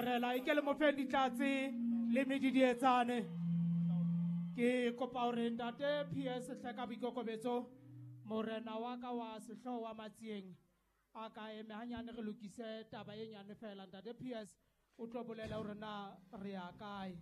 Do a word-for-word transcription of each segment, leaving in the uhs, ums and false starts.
Rela e ke le mofeng ditlatse le medidietsane. Ke kopa hore ntate P S hle ka boikokobetso, morena wa ka wa sehlooho wa Matsieng a ka eme hanyane re lokise taba e nyane fela. Ntate P S o tlo bolela hore na re ya kae.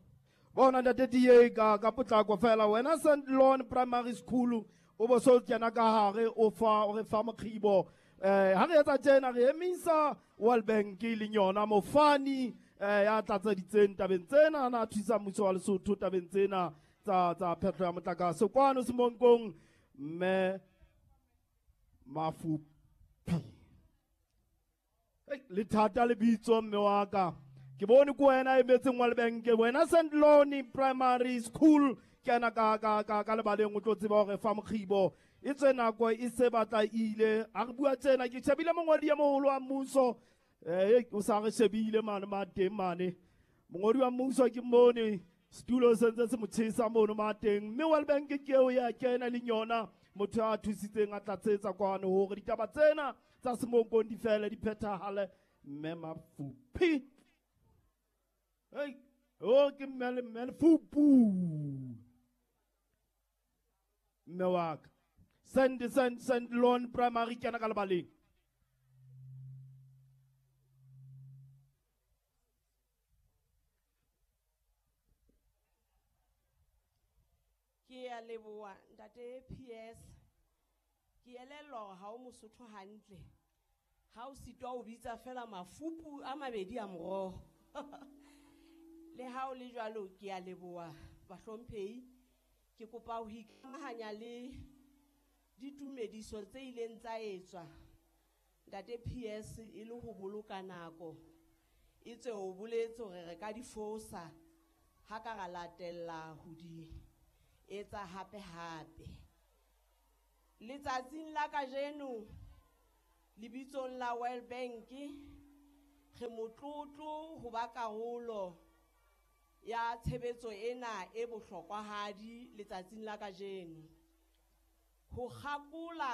Bona ntate D A ka ka potlako fela wena Saint Lon Primary School o bo so kena ka hare o fa o re fa mokgibo. Eh ha re etsa tjena re emisa World Bank e leng yona mofani eh ya tlatseditseng tabeng tsena na thusa mmuso wa Lesotho tabeng tsena tsa tsa phehlo ya motlakase kwano Semonkong mme Mafupi. Hey, le thata lebitso mme wa ka. Ke bone ko wena e metseng World Bank wena Saint Lon Primary School kena ka ka ka ka lebaleng o tlo tseba hore fa mokgibo e tswe nako e se batla ile a re bua tsena ke shebile mongodi ya moholo wa mmuso eh o sa re shebile mane ma teng mane mongodi wa mmuso ke mmone setulo se ntse se mo tshesa mono ma teng mme World Bank ke eo ya kena le yona motho a thusitseng a tlatsetsa kwano hore ditaba tsena tsa Semonkong di fele di phethahale mme Mafupi. Hey, oh ke mme mme Fupu mme wa ka Send Send Saint Lon Primary kena ka lebaleng. Ke a leboha ntate P S. Ke elellwa hore ha o Mosotho hantle. Ha o sitwa o bitsa fela mafupu a mabedi a moroho. Le ha o le jwalo ke a leboha bahlomphehi. Ke kopa ho ikamahanya le ditumediso tse ileng tsa etswa ntate P S e le ho boloka nako. E tswe o boletse hore re ka di fosa ha ka ra latella ho di etsa hape hape. Letsatsing la kajeno lebitsong la World Bank re motlotlo ho ba karolo ya tshebetso ena e bohlokwahadi letsatsing la kajeno. Ho kgakola